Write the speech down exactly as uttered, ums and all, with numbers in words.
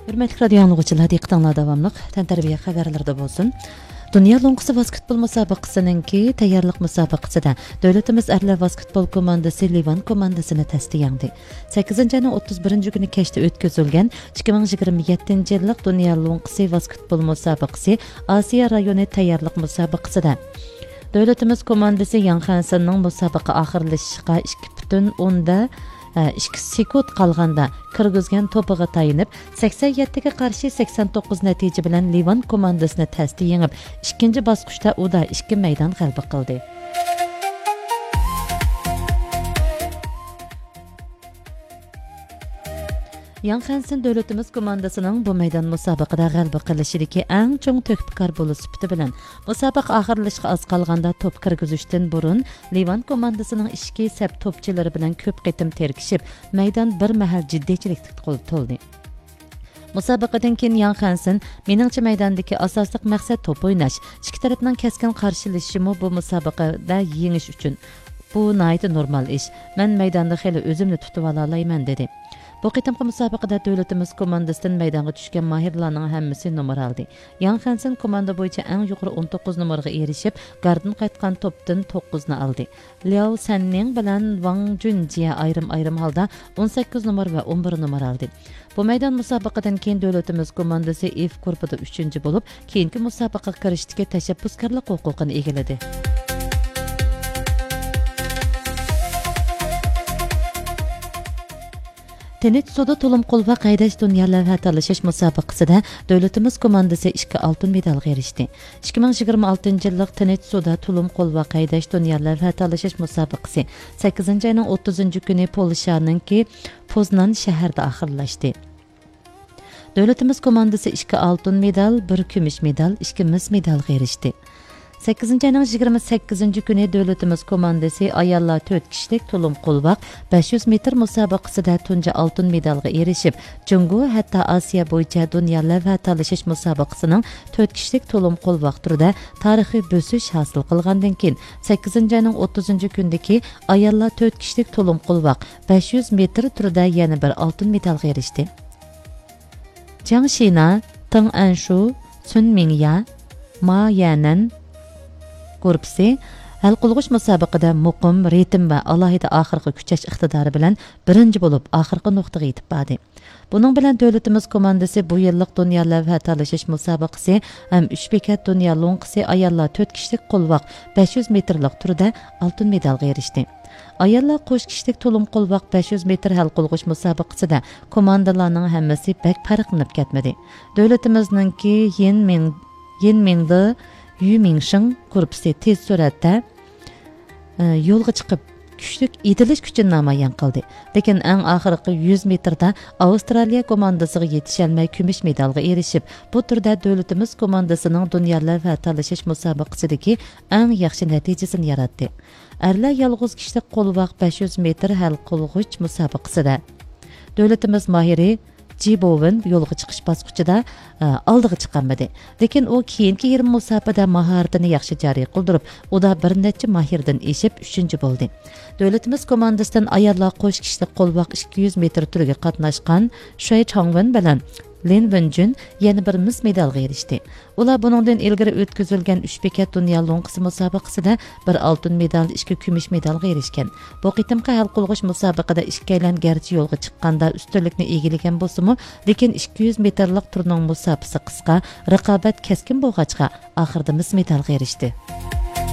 ھۆرمەتلىك رادىيو ئاڭلىغۇچىلار، دىققىتىڭلار داۋاملىق تەنتەربىيە خەۋەرلىرىدە بولسۇن. دۇنيا لوڭقىسى ۋاسكېتبول مۇسابىقىسىنىڭكى تەييارلىق مۇسابىقىسىدە دۆلىتىمىز ئەرلەر ۋاسكېتبول كوماندىسى لىۋان كوماندىسىنى تەستە يەڭدى. سەككىزىنچى ئاينىڭ ئوتتۇز بىرىنچى كۈنى كەچتە ئۆتكۈزۈلگەن ئىككى مىڭ يىگىرمە يەتتىنچى يىللىق دۇنيا لوڭقىسى ۋاسكېتبول مۇسابىقىسى ئاسىيا رايونى تەييارلىق مۇسابىقىسىدە دۆلىتىمىز كوماندىسى ياڭ خەنسىننىڭ مۇسابىقە ئاخىرلىشىشقا ئىككى پۈتۈن ئوندا ئىككى سېكۇنت قالغاندا كىرگۈزگەن توپىغا تايىنىپ، سەكسەن يەتتىگە قارشى سەكسەن توققۇز نەتىجە بىلەن لىۋان كوماندىسىنى تەستە يېڭىپ، ئىككىنچى باسقۇچتا ئۇدا ئىككى مەيدان غەلىبە قىلدى. ياڭ خەنسىن دۆلىتىمىز كوماندىسىنىڭ بۇ مەيدان مۇسابىقىدە غەلىبە قىلىشىدىكى ئەڭ چوڭ تۆھپىكار بولۇش سۈپىتى بىلەن، مۇسابىقە ئاخىرلىشىشقا ئاز قالغاندا توپ كىرگۈزۈشتىن بۇرۇن، لىۋان كوماندىسىنىڭ ئىچكى سەپ توپچىلىرى بىلەن كۆپ قېتىم تىركىشىپ، مەيدان بىر مەھەل جىددىيچىلىككە تول-، تولدى. مۇسابىقىدىن كېيىن ياڭ خەنسىن، مېنىڭچە، مەيداندىكى ئاساسلىق مەقسەت توپ ئويناش. ئىككى تەرەپنىڭ كەسكىن قارشىلىشىشىمۇ بۇ مۇسابىقىدە يېڭىش ئۈچۈن. بۇ ناھايىتى نورمال ئىش. مەن مەيداندا خېلى ئۆزۈمنى تۇتۇۋالالايمەن، دېدى. بۇ قېتىمقى مۇسابىقىدە دۆلىتىمىز كوماندىسىدىن مەيدانغا چۈشكەن ماھىرلارنىڭ ھەممىسى نومۇر ئالدى. ياڭ خەنسىن كوماندا بويىچە ئەڭ يۇقىرى ئون توققۇز نومۇرغا ئېرىشىپ، گاردىن قايتقان توپتىن توققۇزنى ئالدى. لياۋ سەننىڭ بىلەن ۋاڭ جۈنجيە ئايرىم-ئايرىم ھالدا ئون سەككىز نومۇر ۋە ئون بىر نومۇر ئالدى. بۇ مەيدان مۇسابىقىدىن كېيىن دۆلىتىمىز كوماندىسى ئېف گۇرۇپپىدا ئۈچىنچى بولۇپ، كېيىنكى مۇسابىقىگە كىرىشتىكى تەشەببۇسكارلىق ھوقۇقىنى ئىگىلىدى. تىنچ سۇدا تۇلۇم قولۋاق ھەيدەش دۇنيا لەۋھە تالىشىش مۇسابىقىسىدە دۆلىتىمىز كوماندىسى ئىككى ئالتۇن مېدالغا ئېرىشتى. ئىككى مىڭ يىگىرمە ئالتىنچى يىللىق تىنچ سۇدا تۇلۇم قولۋاق ھەيدەش دۇنيا لەۋھە تالىشىش مۇسابىقىسى سەككىزىنچى ئاينىڭ ئوتتۇزىنچى كۈنى پولشانىڭكى پوزنان شەھىرىدە ئاخىرلاشتى. دۆلىتىمىز كوماندىسى ئىككى ئالتۇن مېدال، بىر كۈمۈش مېدال، ئىككى مىس مېدالغا ئېرىشتى. سەككىزىنچى ئاينىڭ يىگىرمە سەككىزىنچى كۈنى دۆلىتىمىز كوماندىسى ئاياللار تۆت كىشىلىك تۇلۇم قولۋاق بەش يۈز مېتىر مۇسابىقىسىدە تۇنجى ئالتۇن مېدالغا ئېرىشىپ، جۇڭگو ھەتتا ئاسىيا بويىچە دۇنيا لەۋھە تالىشىش مۇسابىقىسىنىڭ تۆت كىشىلىك تۇلۇم قولۋاق تۈرىدە تارىخىي بۆسۈش ھاسىل قىلغاندىن كېيىن، سەككىزىنچى ئاينىڭ ئوتتۇزىنچى كۈنىدىكى ئاياللار تۆت كىشىلىك تۇلۇم قولۋاق بەش يۈز مېتىر تۈرىدە يەنە بىر ئالتۇن مېدالغا ئېرىشتى. جياڭ شىنا، تېڭ ئەنشۇ، سۈن مىڭيا، ما يەنەن گۇرۇپپىسى ھەل قىلغۇچ مۇسابىقىدە مۇقىم، رىتىم ۋە ئالاھىدە ئاخىرقى كۈچەش ئىقتىدارى بىلەن بىرىنچى بولۇپ، ئاخىرقى نۇقتىغا يېتىپ باردى. بۇنىڭ بىلەن دۆلىتىمىز كوماندىسى بۇ يىللىق دۇنيا لەۋھە تالىشىش مۇسابىقىسى ھەم ئۈچ بېكەت دۇنيا لوڭقىسى ئاياللار تۆت كىشىلىك قولۋاق بەش يۈز مېتىرلىق تۈرىدە ئالتۇن مېدالغا ئېرىشتى. ئاياللار قوش كىشىلىك تۇلۇم قولۋاق بەش يۈز مېتىر ھەل قىلغۇچ مۇسابىقىسىدە كوماندىلارنىڭ ھەممىسى بەك پەرقلىنىپ كەتمىدى. دۆلىتىمىزنىڭكى يىن مىڭ، يىن مىڭدې، يۈ مىڭشىڭ گۇرۇپپىسى تېز سۈرئەتتە، ئى، يولغا چىقىپ، كۈچلۈك يېتىلىش كۈچىنى نامايان قىلدى. لېكىن ئەڭ ئاخىرقى يۈز مېتىردا ئاۋسترالىيە كوماندىسىغا يېتىشەلمەي كۈمۈش مېدالغا ئېرىشىپ، بۇ تۈردە دۆلىتىمىز كوماندىسىنىڭ دۇنيا لەۋھە تالىشىش مۇسابىقىسىدىكى ئەڭ ياخشى نەتىجىسىنى ياراتتى. ئەرلەر يالغۇز كىشىلىك قولۋاق بەش يۈز مېتىر ھەل قىلغۇچ مۇسابىقىسىدە دۆلىتىمىز ماھىرى جى بوۋېن يولغا چىقىش باسقۇچىدا، ئە، ئالدىغا چىقالمىدى. لېكىن ئۇ كېيىنكى يېرىم مۇساپىدە ماھارىتىنى ياخشى جارى قىلدۇرۇپ، ئۇدا بىر نەچچە ماھىردىن ئېشىپ ئۈچىنچى بولدى. دۆلىتىمىز كوماندىسىدىن ئاياللار قوش كىشىلىك قولۋاق ئىككى يۈز مېتىر تۈرىگە قاتناشقان شۇي چاڭۋېن بىلەن لىن ۋېنجۈن يەنە بىر مىس مېدالغا ئېرىشتى. ئۇلار بۇنىڭدىن ئىلگىرى ئۆتكۈزۈلگەن ئۈچ بېكەت دۇنيا لوڭقىسى مۇسابىقىسىدە بىر ئالتۇن مېدال، ئىككى كۈمۈش مېدالغا ئېرىشكەن. بۇ قېتىمقى ھەل قىلغۇچ مۇسابىقىدە ئىككىيلەن گەرچە يولغا چىققاندا ئۈستۈنلۈكنى ئىگىلىگەن بولسىمۇ، لېكىن ئىككى يۈز مېتىرلىق تۈرنىڭ مۇساپىسى قىسقا، رىقابەت كەسكىن بولغاچقا، ئاخىرىدا مىس مېدالغا ئېرىشتى.